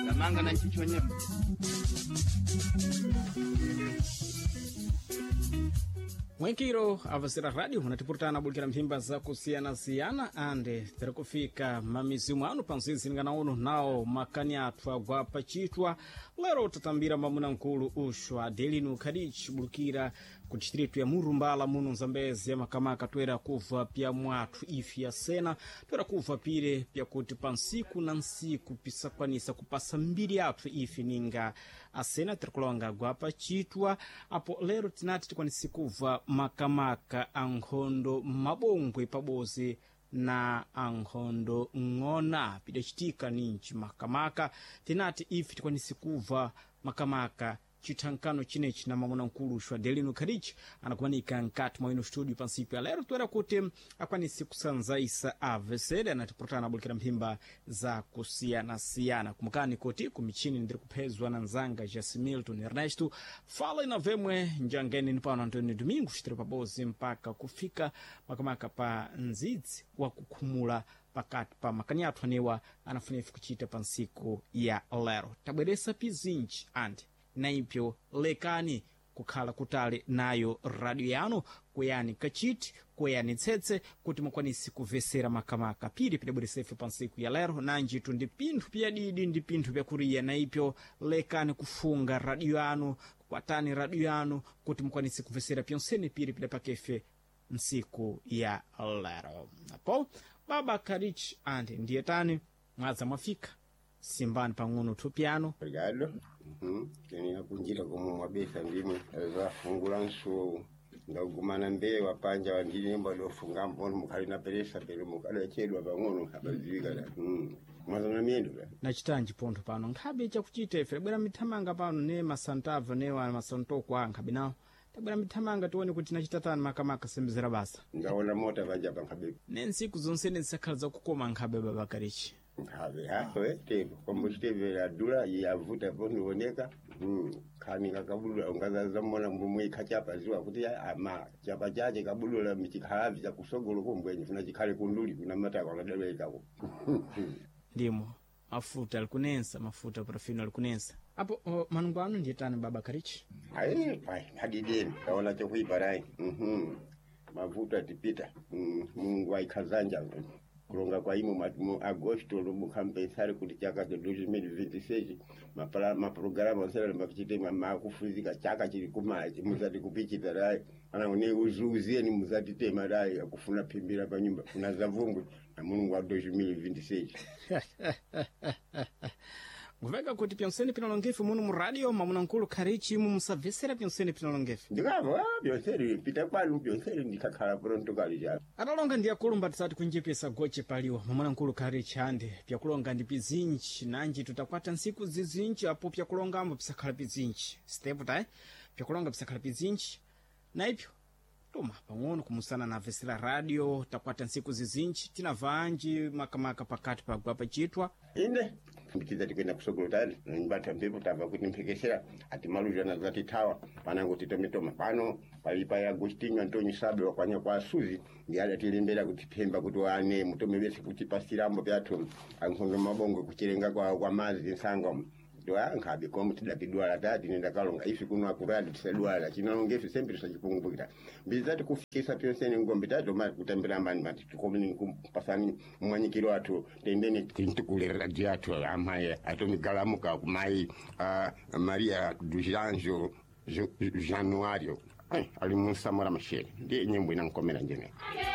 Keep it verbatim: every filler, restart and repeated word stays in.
Lamanga na chichonye. Mwenkiro avasira radio unatipurutana bulikira mphimba zakusiyana-siyana ande tiri kufika mamizimu anu panzinzingana uno nawo makani athu agwa pachitwa lero tatambira mwamuna nkulu uxu Adelino Khadich bulukira ku distritu ya Murumbala muno Zambezi ya makamaka toera kuva pya mwathu ifi ya sena toera kuva pire pyakuti pa nsiku na nsiku pisakwanisa kupasa mbiri yathu ifi ninga asena tiri kulonga agwa pachitwa apo lero tinati tikwanise kuva makamaka a nkhondo mabongwe pabozi na ankhondo ng'ona pidacitika ninji makamaka tinati ife tikwanise kuva makamaka chithankano chinechi na mamuna nkulu xwa Adelino Khadich anakumanika nkati mwa ino studio pansiku ya lero toera kuti akwanise kusanzaisa avesere anatipurutana abulikira mphimba za kusiyanasiyana kumukani kuti kumichini ndiri kuphezwa na nzanga Jasimilton Ernesto fala ina vemwe njangeni ni pano Antonio Domingos tiri pabozi mpaka kufika makamaka pa nzidzi wa kukhumula pakati pa makani athu anewa anafunefu kuchita pa nsiku ya lero tabweresa pizinji andi naipyo lekani kukhala kutali nayo radio yanu kuyani kachiti kuyani tsetse kuti mukwanise kuvesera makamaka piri pidabweresefe pa nsiku ya lero nanjitu ndi pinthu pyadidi ndi pinthu pyakuriya naipyo lekani kufunga radio yanu kwatani radio yanu kuti mukwanise kuvesera pyonsene piri pidapakefe nsiku ya lero apo baba Karich andi ndiye tani mwadza mwafika simbani pang'ono thupyano Obrigado. Uhum. Tenia kunjira komwe mwabesa ndimwe zafungula nsuwo ndagumana mbewa panja wandinemba dofunga mbono mukhali na peresa pero mukadachedwa pang'ono abaziwika mm. mwazana miyendo la nachitanji pontho pano nkhabe chakuchita ife tabwera mithamanga pano ne masantava ne wa masantoko a nkhabe nawo tabwera mithamanga tione kuti nachitatani makamaka sembezera basa ndaona mota panja pankhabe ne ntsiku zonsene zisakhala zakukoma nkhabe baba Karichi nkhabe hawe tepo kombo chitevera adula yavuta ponioneka mm. khani kakabudula ungazazamona mbomwe ikhachapa ziwa kuti ama chapa chache kabudula michikhalavi chakusogolo kombwenye funa chikhale kunduli kuna matako akadalwekako ndimo mafuta alikunensa mafuta parafino alikunensa apo o, manungo anu ndiye tani baba Karichi Ayi, pai, hadideni kaona chokuipa rai mhm mavuto atipita Mm, Mulungu aikhazanja kulonga kwa imo ma- mu agosto lumukampensari kuti chaka cha dois mil vinte e seis mapala maprograma osera makuchite makufuzika chaka chili kumachi muzati kupichita rai ana une uzuuziyeni muzati tema rai akufuna phimbira pa nyumba kuna zavumbwe na Mulungu wa dois mil vinte e seis nguveka kuti pyonsene pinalongefe muno mu radio mamuna nkulu Karichi imu musabvesera pyonsene pinalongefe ndikavo ah, byonseri pita kwanu byonseri ndikakhala pronto kali cha atalonga ndi akulumba tisati kunjepesa goche paliwa mamuna nkulu Karichi ande pyakulonga ndi pizinji nanji tutakwata ntsiku zizinji apo pyakulongambo pisakhala pizinji step tayi pyakulonga pisakhala pizinji naipyo toma pang'ono kumusana na vesera radio takwata ntsiku zizinji tinavanji makamaka pakati pagwa pachitwa ine mbikiza tikwenda kusogolo tali nibata mpepo tava kuti mphekesera ati maluzhana zatithawa panango titometoma pano pali pa Agostinho Antonio Sabe wakwanya kwa Suzi ndi adatilembera kuti phemba kuti wane mutome bese kuti pasirambo pyathu ankhondo mabongo kuchirenga kwa kwa mazi nsanga nkhabe komu tidapidwala tati nendakalonga ife kuno akuradi tisadwala chinalonga ife sempre tisachipungukira mbizati kufikisa pyonsene ngombe tato mati kutambira mbani mati tikomeni kupasani mwanyikiro athu tendene tintikulera di athu amayi atomigalamuka kumayi ah, Maria dos Anjos Januário. Ai, ali munsamora mashere ndiye nyimbo inankomera njene. Aye.